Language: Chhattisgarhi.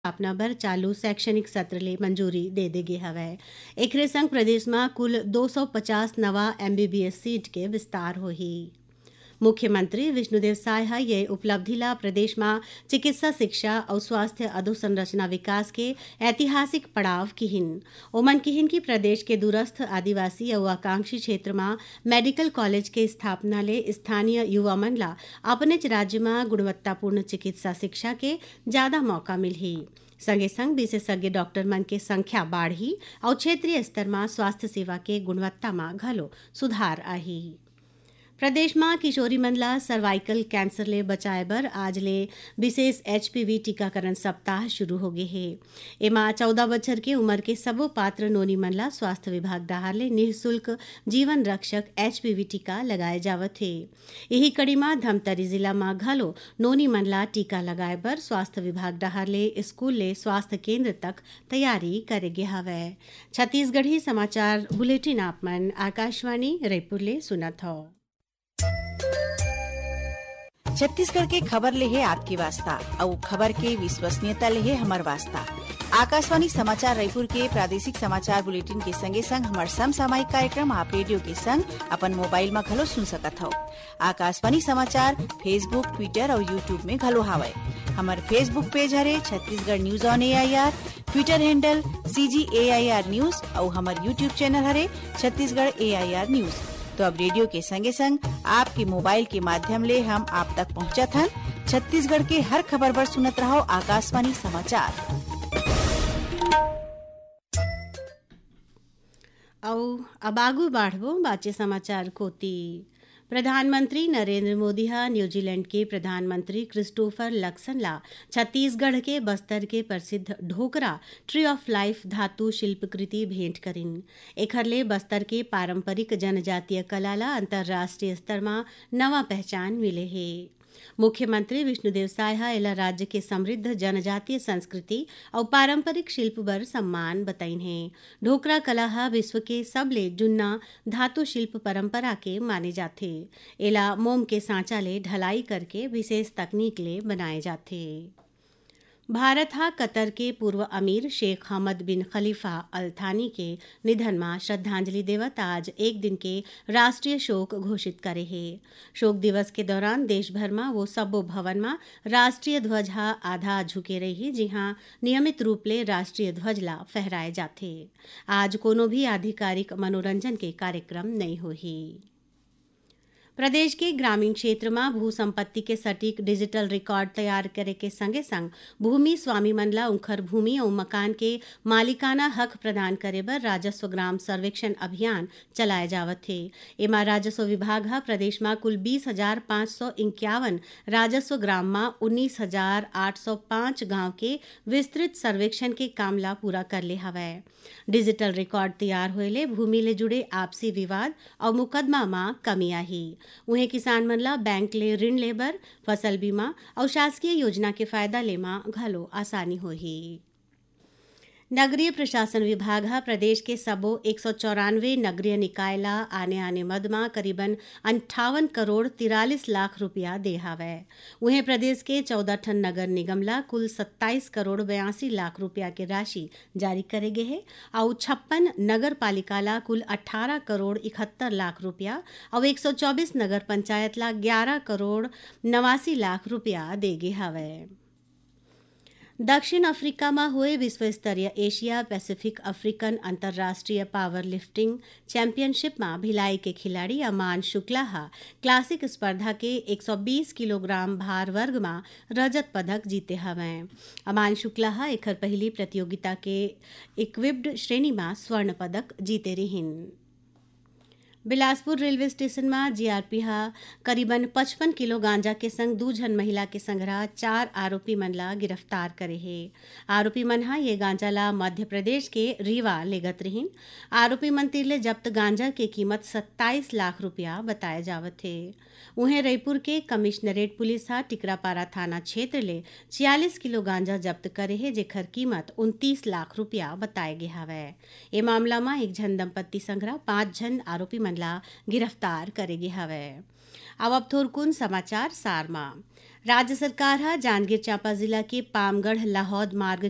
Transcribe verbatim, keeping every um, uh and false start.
स्थापना बर चालू शैक्षणिक सत्र ले मंजूरी दे दे गे हवय। एकरे संग प्रदेश म कुल दो सौ पचास नवा एमबीबीएस सीट के विस्तार होही। मुख्यमंत्री विष्णुदेव साय ह ये उपलब्धि ला प्रदेश म चिकित्सा शिक्षा अउ स्वास्थ्य अधोसंरचना विकास के ऐतिहासिक पड़ाव किहिन। ओमन किहिन कि प्रदेश के दूरस्थ आदिवासी अउ आकांक्षी क्षेत्र म मेडिकल कॉलेज के स्थापना ले स्थानीय युवा मन ला अपनेच राज्य म गुणवत्तापूर्ण चिकित्सा शिक्षा के जादा मौका मिलही। संगे संग विशेषज्ञ डॉक्टर मन के संख्या बाढ़ही अउ क्षेत्रीय स्तर म स्वास्थ्य सेवा के गुणवत्ता म घलो सुधार आही। प्रदेश म किशोरी मन ला सर्वाइकल कैंसर ले बचाए बर आज ले विशेष एचपीवी टीकाकरण सप्ताह शुरू हो गे हे। एमा चौदह बछर के उमर के सबो पात्र नोनी मन ला स्वास्थ्य विभाग डहार ले निःशुल्क जीवन रक्षक एचपीवी टीका लगाए जावत हे। इही कड़ी म धमतरी जिला म घलो नोनी मन ला टीका लगाए बर स्वास्थ्य विभाग डहार ले स्कूल ले स्वास्थ्य केंद्र तक तैयारी करे गे हवय। छत्तीसगढ़ी समाचार बुलेटिन आप मन आकाशवाणी रायपुर ले सुनत हव। छत्तीसगढ़ के खबर ले हे आपके वास्ता, अउ खबर के विश्वसनीयता ले हे हमर वास्ता। आकाशवाणी समाचार रायपुर के प्रादेशिक समाचार बुलेटिन के संगे संग हमर समसामयिक कार्यक्रम आप रेडियो के संग अपन मोबाइल म घलो सुन सकत हव। आकाशवाणी समाचार Facebook, Twitter अउ YouTube में घलो हावय। हमर Facebook पेज हरे Chhattisgarh news on AIR, Twitter handle CG AIR news अउ हमर YouTube चैनल हरे छत्तीसगढ़ एआईआर न्यूज। तो अब रेडियो के संगे संग आपके मोबाइल के माध्यम ले हम आप तक पहुंचत हन। छत्तीसगढ़ के हर खबर बर सुनत रहव आकाशवाणी समाचार। अउ अब आगू बाढ़बो बाचे समाचार कोति। प्रधानमंत्री नरेंद्र मोदी ह न्यूजीलैंड के प्रधानमंत्री क्रिस्टोफर लक्सन ला छत्तीसगढ़ के बस्तर के प्रसिद्ध ढोकरा ट्री ऑफ लाइफ धातु शिल्पकृति भेंट करिन। एखर ले बस्तर के पारंपरिक जनजातीय कला ला अंतर्राष्ट्रीय स्तर म नवा पहचान मिले हे। मुख्यमंत्री विष्णुदेव साय ह एला राज्य के समृद्ध जनजातीय संस्कृति अउ पारंपरिक शिल्प बर सम्मान बतइन हे। ढोकरा कला ह विश्व के सबले जुन्ना धातु शिल्प परंपरा के माने जाथे। एला मोम के सांचा ले ढलाई करके विशेष तकनीक ले बनाए जाथे। भारत ह कतर के पूर्व अमीर शेख हमद बिन खलीफा अल थानी के निधन म श्रद्धांजलि देवत आज एक दिन के राष्ट्रीय शोक घोषित करे हे। शोक दिवस के दौरान देश भर म वो सब्बो भवन म राष्ट्रीय ध्वज ह आधा झुके रही, जिहां नियमित रूप ले राष्ट्रीय ध्वज ला फहराए जाथे। आज कोनो भी आधिकारिक मनोरंजन के कार्यक्रम नइ होही। प्रदेश के ग्रामीण क्षेत्र म भू संपत्ति के सटीक डिजिटल रिकॉर्ड तैयार करे के संगे संग भूमि स्वामी मन ला उंखर भूमि अउ मकान के मालिकाना हक प्रदान करे बर राजस्व ग्राम सर्वेक्षण अभियान चलाए जावत हे। एमा राजस्व विभाग ह प्रदेश म कुल बीस हजार पाँच सौ इक्यावन राजस्व ग्राम म उन्नीस हजार आठ सौ पाँच गांव के विस्तृत सर्वेक्षण के काम ला पूरा कर ले हवय। डिजिटल रिकॉर्ड तैयार होए ले भूमि ले जुड़े आपसी विवाद अउ मुकदमा म कमी आही। उहें, किसान मन ला बैंक ले ऋण ले बर, फसल बीमा अउ शासकीय योजना के फायदा ले म घलो आसानी होही। नगरीय प्रशासन विभाग ह प्रदेश के सबो एक सौ चौरानवे नगरीय निकाय ला आने-आने मद म करीबन अंठावन करोड़ तिरालीस लाख रुपया दे हावय। उहें, प्रदेश के चौदह ठन नगर निगम ला कुल सत्ताईस करोड़ बयासी लाख रुपया के राशि जारी करे गे हे अउ छप्पन नगर पालिका ला कुल अट्ठारह करोड़ इकहत्तर लाख रुपया अउ एक सौ चौबीस नगर पंचायत ला ग्यारह करोड़ नवासी लाख रुपया दे गे हवय। दक्षिण अफ्रीका म होए विश्व स्तरीय एशिया पैसिफिक अफ्रीकन अंतर्राष्ट्रीय पावर लिफ्टिंग चैंपियनशिप म भिलाई के खिलाड़ी अमान शुक्ला ह क्लासिक स्पर्धा के एक सौ बीस किलोग्राम भार वर्ग म रजत पदक जीते हवंय। अमान शुक्ला ह एखर पहिली प्रतियोगिता के इक्विप्ड श्रेणी म स्वर्ण पदक जीते रिहिन। बिलासपुर रेलवे स्टेशन म जीआरपी ह करीबन पचपन किलो गांजा के संग दू झन महिला के संघरा चार आरोपी मन ला गिरफ्तार करे हे। आरोपी मन ह ये गांजा ला मध्य प्रदेश के रीवा लेगत रिहिन। आरोपी मन तीर ले जब्त गांजा के कीमत सत्ताईस लाख रुपया बताए जावत हे। उहें, रईपुर के कमिश्नरेट पुलिस ह टिकरापारा थाना क्षेत्र ले छियालीस किलो गांजा जब्त करे हे, जेखर कीमत उनतीस लाख रुपया बताए गे हवय। ए मामला म एक झन दंपत्ति संघरा पांच झन आरोपी मन ला गिरफ्तार करे गे हवय। अब, अब थोरकुन समाचार सार म। राज्य सरकार ह जांजगीर चांपा जिला के पामगढ़ लाहौद मार्ग